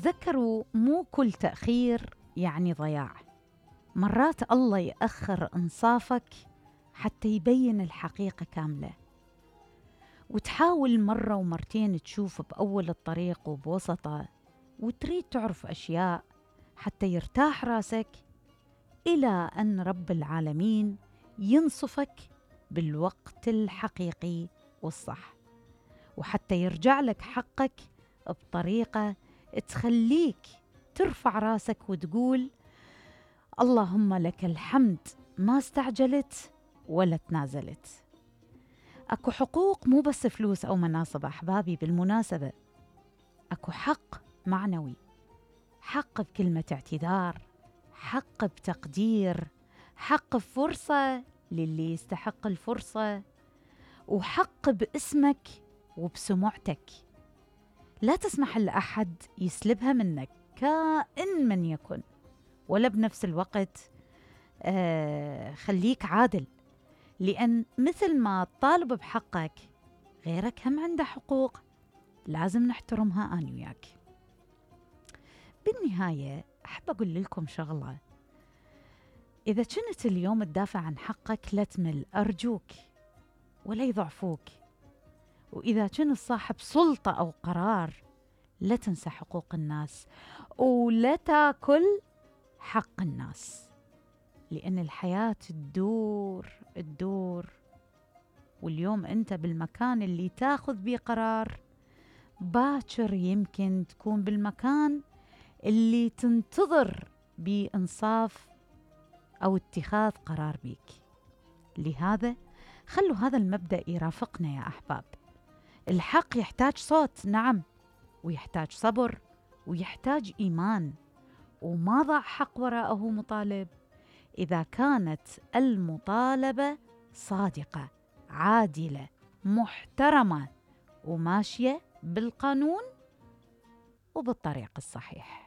تذكروا مو كل تأخير يعني ضياع. مرات الله يأخر إنصافك حتى يبين الحقيقة كاملة، وتحاول مرة ومرتين تشوف بأول الطريق وبوسطه، وتريد تعرف أشياء حتى يرتاح راسك، إلى أن رب العالمين ينصفك بالوقت الحقيقي والصح، وحتى يرجع لك حقك بطريقة تخليك ترفع راسك وتقول اللهم لك الحمد، ما استعجلت ولا تنازلت. أكو حقوق مو بس فلوس أو مناصب أحبابي، بالمناسبة أكو حق معنوي، حق بكلمة اعتذار، حق بتقدير، حق بفرصة للي يستحق الفرصة، وحق باسمك وبسمعتك. لا تسمح لأحد يسلبها منك كائن من يكن، ولا بنفس الوقت خليك عادل، لأن مثل ما تطالب بحقك غيرك هم عنده حقوق لازم نحترمها أنا وياك. بالنهاية أحب أقول لكم شغلة، إذا كنت اليوم تدافع عن حقك لا تمل أرجوك، ولا يضعفوك. وإذا كنت صاحب سلطة أو قرار لا تنسى حقوق الناس، ولا تاكل حق الناس، لأن الحياة تدور، واليوم أنت بالمكان اللي تاخذ بيه قرار، باكر يمكن تكون بالمكان اللي تنتظر بإنصاف أو اتخاذ قرار بيك. لهذا خلوا هذا المبدأ يرافقنا يا أحباب. الحق يحتاج صوت، نعم، ويحتاج صبر، ويحتاج إيمان، وما ضع حق وراءه مطالب إذا كانت المطالبة صادقة، عادلة، محترمة، وماشية بالقانون وبالطريق الصحيح.